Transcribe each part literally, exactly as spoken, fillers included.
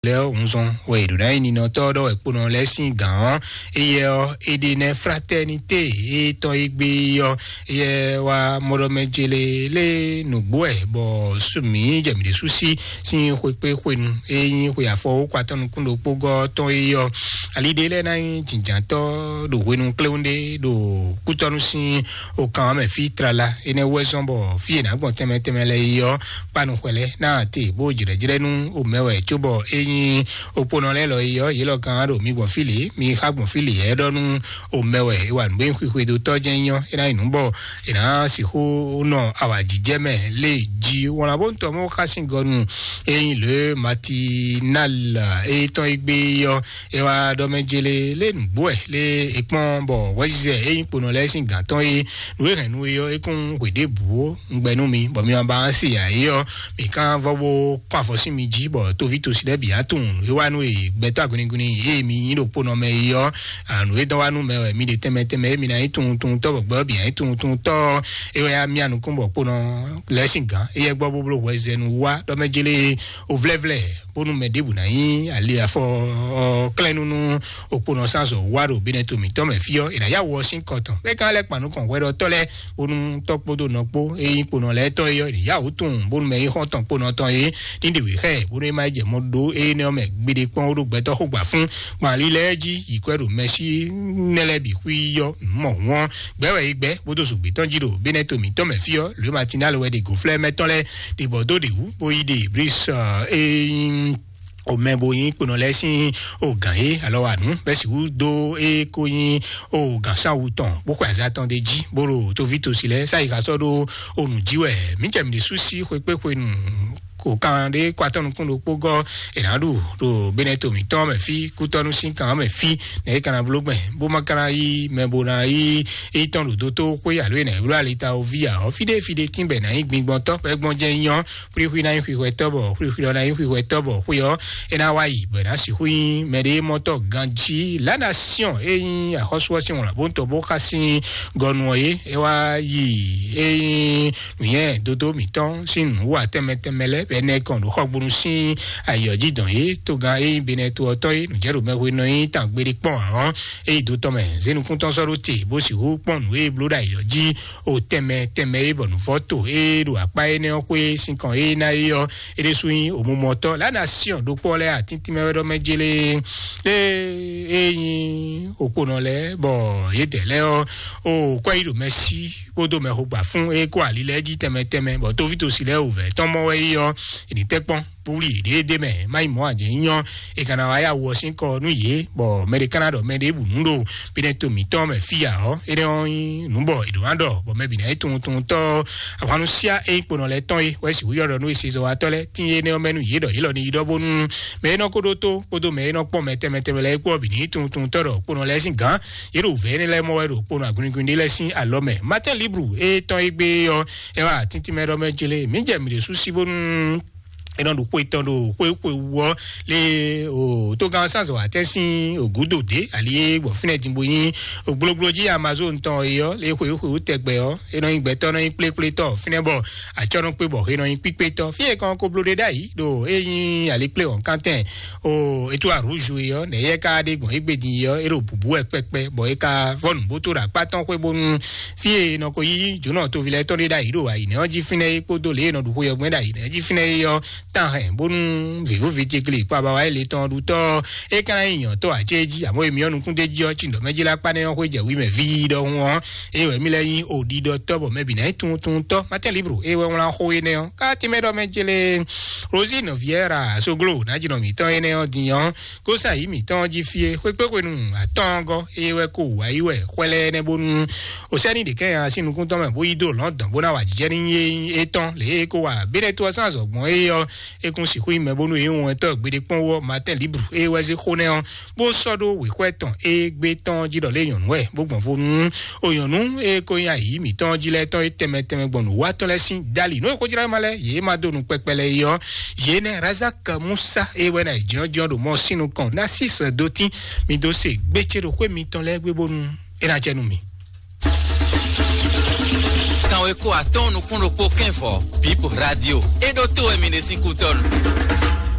lɛ́ɛ ɔ́, hunzɔn wɛ è ɖǒ ná nyí ninɔtɔ́ ɖɔ wɛ kponɔ lɛ́ɛ sín gǎn ɔ́. Éyɛ́ ɔ́, Edenɛ Fraternité e tɔn e gbe ɔ́, éyɛ́ wá mɔɖɔmɛ jele lé nǔgbó wɛ, bɔ mǐ jɛ mǐ ɖésú sí sín xwekpé xwenu e nyí xwe afɔ wókɔ atɔ́ nukún ɖokpó gɔ́ tɔn é ɔ́. Ali ɖé lɛ́ɛ ná nyí jǐnjǎntɔ́ ɖo hwenu kléwún ɖé ɖo kútɔ́nú sín okan ɔ́ mɛ fí tlala. Énɛ́ wú wɛ zɔ́n bɔ fí e nǎ gbɔn tɛnmɛ tɛnmɛ lɛ́ɛ é ɔ́, kpanu xwɛ lɛ́ɛ ná te bó jlɛ̌jlɛ́ nú omɛ wɛ, cóbɔ é nyí okponɔ lɛ́ɛ lɔ é ɔ́, yě lɔ kan ɖo mi gbɔn fí lě, mi xá gbɔn fí lě, é ɖɔ nú omɛ wɛ é wa nǔ bó nyí xwixwedótɔ́ jɛ́n nyí ɔ́, é ná nyí nǔ bɔ è nǎ sixú nɔ awǎjijɛ mɛ lé jí. Wlán bó ń tɔ mɔ xá sín gɔnu e nyí lě Matinal e tɔn e gbé ɔ́, é wá ɖɔ mɛ jele lé nǔgbó wɛ lé é kpɔ́n bɔ hwɛzizɛ e nyí kponɔ lɛ́ɛ sín gǎn tɔn é, nǔ e hɛn nú é ɔ́, é kún hwe ɖěbǔ ó. Un gbɛ nú mi bɔ mi ma ba se ǎ é ɔ́, mi kán vɔ bó kɔn avɔ sín mi jí, bɔ toví tosi lɛ́ɛ bǐ á tunwun nǔ e wá nú e gbɛtɔ́ aguniguni e mi nyí ɖo kponɔ mɛ é ɔ́. Nǔ e dɔn wá nú mɛ wɛ mi ɖe tɛnmɛ tɛnmɛ e mi ná nyí tunwun tunwun tɔ́, bɔ gbɛ ɔ́ bǐ ná nyí tunwun tunwun tɔ́. É wɛ á mia nukún bɔ kponɔ lɛ́ɛ sín gǎn éyɛ́ gbɔ bó bló hwɛzɛnu wá ɖɔ mɛ jélé o vlɛ́vlɛ́ bónú mɛ ɖěbǔ ná nyí ali afɔ ɔ́ klɛ́n nú nú okponɔ sánzɔ wá ɖo binɛ to mǐtɔn mɛ fí ɔ́, è nǎ yá wɔ sín kɔ tɔn. Bɛ́ kan lɛ́ kpan nukɔn hwɛɖɔtɔ́ lɛ́ɛ bónú tɔ́ kpódó nɔ kpó e nyí kponɔ lɛ́ɛ tɔn é ɔ́, è nǐ yá wǒ tunwun bónú mɛ e nyí xɔ́ntɔn kponɔ tɔn é ní ɖe wě xá ɛ, bónú é má yi jɛ mɔ ɖó énɛ́ ɔ́ mɛ gbeɖé kpɔ́n ó ɖó gbɛtɔ́ xó gbà fún. Gbɔn ali lɛ́ɛ jí yi kwɛ́ ɖo mɛsí nɛ́ lɛ́ɛ bǐ xwí yɔ nǔ mɔ hǔn ɔ́, gbɛ́ wɛ é gbɛ́ bó dó zǔgbé tɔn jí ɖo binɛ to mǐtɔn mɛ fí ɔ́, lǒ Matinal wɛ ɖe gǒflɛ́ mɛ tɔn lɛ́ɛ ɖe bɔ dó ɖe wú bó yi ɖe Bris e nyí o mɛ bo nyí kponɔ lɛ́ɛ sín o gǎn é alɔ wa nǔ bɛ́ sixú dó é kó nyí o gǎn sáwu tɔn bó xwe azá tɔn ɖé jí bó ɖo toví tosi lɛ́ɛ sáyi xa sɔ́ ɖó o nǔ jí wɛ. Mǐ jɛ mǐ ɖésú sí xwekpéxwenu kò kan ɖé kó atɔ́ nukún ɖokpó gɔ́ è nǎ ɖu ɖo benɛto mǐtɔn mɛ fí kútɔ́nú sín kan mɛ fí nɛ é ka ná bló gbɛn bó má ka ná yí mɛ bo ná yí é tɔn ɖo dótó xwé alo é nǎ ylɔ́ alita o ví ǎ ɔ́, fíɖé fíɖé kínbɛ ná nyí gbingbɔntɔ́ bɔ é gbɔn jɛ́n nyɔ́. Xwlíxwlí ná nyí xwixwɛ tɔ́ bɔ xwlíxwlí ɔ́ ná nyí xwixwɛ tɔ́ bɔ xwé ɔ́ é ná wá yi bɔ é ná sixú nyí mɛɖé mɔtɔ́ ganjí. La Nation e nyí axɔ́sú ɔ́ sín wlǎn bó ń tɔ bó xá sín gɔnu ɔ́ é é wá yi e nyí nǔnywɛ́ dódó mǐtɔn sín nǔwá tɛnmɛ tɛnmɛ lɛ́ɛ bɔ é ná kɔn ɖo xɔgbónu sín ayǐ ɔ́ jí dɔn é togán e nyí benɛto ɔ́ tɔn é nǔjɛɖomɛhwe nɔ nyí tangbeɖé kpɔ́n ǎ ɔ́, é yi dó tɔn mɛ zé nukúntɔn sɔ́ ɖó te bó sixú kpɔ́n nǔ e bló ɖo ayǐ ɔ́ jí o tɛnmɛ tɛnmɛ é bɔ nǔvɔ́ to é ɖo akpá énɛ́ ɔ́ xwé sín kɔn é ná é ɔ́, é ɖésú nyí òmumɔtɔ́. La Nation ɖokpó lɛ́ɛ atíntín mɛ wɛ ɖɔ mɛ jélé e e nyí òkponɔ lɛ́ɛ bɔ yědɛɛ lɛ́ɛ ɔ́ o kwɛ́ yí ɖo mɛ sí kpódó mɛ xogba fún é kó ali lɛ́ɛ jí tɛnmɛ tɛnmɛ bɔ tóvítosi lɛ́ɛ wǔvɛ́ tɔn mɔ wɛ é ɔ́, è ní tɛ́ kpɔ́n bó wlí yě ɖé ɖé mɛ má nyí mɔ̌ ǎ jɛ nyí nyɔ́. È ka ná wá yá wɔ sín kɔ nú yě bɔ mɛ ɖé ka ná ɖɔ mɛ ɖěbǔ nú ɖo binɛ to mǐtɔn mɛ fí ǎ ɔ́, énɛ́ ɔ́ nyí nǔ bɔ è ɖǒ ná ɖɔ bɔ mɛ bǐ ná nyí tunwun tunwun tɔ́. Ahwannu síá e nyí kponɔ lɛ́ɛ tɔn é wɛ sixú yɔ́ ɖɔ nú esezɔwatɔ́ lɛ́ɛ tín énɛ́ ɔ́ mɛ nú yě ɖɔ yě lɔ ní yi ɖɔ bónú mɛ e nɔ ko ɖótó kpódó mɛ e nɔ kpɔ́n mɛ tɛnmɛ tɛnmɛ lɛ́ɛ kpó ɔ́ bǐ ní nyí tunwun tunwun tɔ́ ɖɔ kponɔ lɛ́ɛ sín gǎn. Yě ɖo vɛ̌ énɛ́ lɛ́ɛ mɔ wɛ ɖo kponɔ agunigún ɖé lɛ́ɛ sín alɔ mɛ. Martin Libre e tɔn e gbé ɔ́, é wá tíntín mɛ ɖɔ mɛ jélé mǐ jɛ mǐ ɖésú sí bónú é nɔ ɖo xwe tɔn ɖo xwe xwe wú ɔ́ lé o tógán sánzɔ atɛ sín ògúdò dé ali é gbɔ fínɛ din bo nyí ògbólógbóló jí Amazon tɔn é ɔ́ lé xwe xwe wú tɛgbɛ ɔ́, é nɔ nyí gbɛtɔ́ nɔ nyí kplékplétɔ́ fínɛ bɔ atsɔ́ nɔ kpé bɔ é nɔ nyí kpíkpétɔ́ fí e kɔn ko bló ɖé ɖ'ayǐ ɖo é nyí alikplé wɔ̌nkántɛn o ètò àrúzu é ɔ́ nɛ yɛ ká ɖe gbɔn égbé din é ɔ́ é ɖo bǔbú wɛ kpɛkpɛ bɔ é ka vɔ́ nǔbótó ɖo akpá tɔn xwé bónú fí e nɔ ko yí jǒnɔ toví lɛ́ɛ tɔn ɖé ɖ'ayǐ ɖo ayǐnɛ́ ɔ́ jí fínɛ́ é kpódó lě e nɔ ɖu xwe ɔ́ gbɛn ɖ'ayǐnɛ́ jí fínɛ́ é ɔ́, tán hɛn bónú vǐvúvi jegli kpó abawa e le tɔn ɖu tɔ́ é ka ná nyí nyɔ̌tɔ́ ǎ cé jí àmọ́ èmi ɔ́ nukún d'é jí ɔ́ cí ɖɔ mɛ jí lá kpá nɛ́ ɔ́ xwé jɛ wí mɛ ví ɖɔhun ɔ́, é wɛ mí lɛ́ nyí òɖiɖɔtɔ́ bɔ mɛ bǐ ná nyí tunwuntunwuntɔ́. Mátɛ́ Libru é wɛ wlán xó énɛ́ ɔ́ ká tɛ́nmɛ ɖɔ mɛ jélé Rosine Vieira Soglo ná jínɔ mǐtɔn énɛ́ ɔ́ din ɔ́, kó sa yǐ mǐtɔn jí fí é xwékpéxwenu atɔ́ɔ́ngɔ́ é wɛ kó wǔ wáyí wɛ xwɛ lɛ́ɛ nɛ́ bónú o sɛ́ ní ɖě kɛ́n nya sín nukún tɔn mɛ bó yí dó lɔ̌ndɔn bó ná wa jijɛ ní yé étɔn lě e é kó wa béɖɛ́ tó ɔ́ sín azɔ̌gbɔn é ɔ́, é kún sixú nyí mɛ bónú é nyí wɛntɔ́ gbeɖé kpɔ́n wú ɔ́ Martin Libre é wɛ zé xó nɛ́ ɔ́, bó sɔ́ ɖó wěxwɛ́ tɔn é gbé tɔn jí ɖɔ lé nyɔ̌nu wɛ bó gbɔn vo nú o nyɔ̌nu e ko nyí ayǐ mǐtɔn jí lɛ́ɛ tɔn é tɛnmɛ tɛnmɛ gbɔn nǔwatɔ́ lɛ́ɛ sín dali nǔ e xójlá ma lɛ́ɛ yě ma dó nu kpɛkpɛ lɛ́ɛ é ɔ́, yě nɛ́ Razak Musa é wɛ ná yi jɔ́njɔ́n ɖo mɔ sín nukɔn ná sí sɛ̌ dó tín mi dó se gbécé ɖo xwé mitɔn lɛ́ɛ gbé bónú é ná jɛ nú mi. Kanweko atɔ́ɔ́n nukún ɖokpó kɛ́n vɔ Bip Radio. É ɖó tó wɛ mi ɖe sín kútɔ́nu.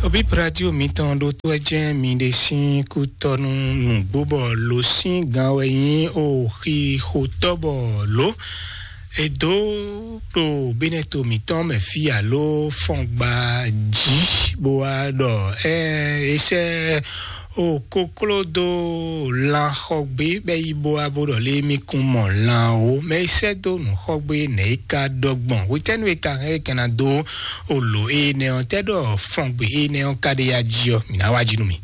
Obi radio mitɔn ɖo tó ɛ jɛn mi ɖe sín kútɔnu nǔgbó bɔ lo sín gan wɛ nyí o xi xotɔ́ bɔ lo. Edo ɖo bínɛto mǐtɔn mɛ fí alo fɔngba jí bó wá ɖɔ ɛ esɛ o koklo dó lan xɔgbé bɛ yi bó wá bó ɖɔ lé mi kún mɔ lan o mɛ esɛ dó nǔ xɔgbé nɛ é ka ɖɔ gbɔn wetɛnu e ka hɛn é kɛna dó o lǒ énɛ́ ɔ́ tɛ ɖɔ fɔngbe énɛ́ ɔ́ ka ɖe ya jí ɔ́ mǐ ná wá jí nú mi.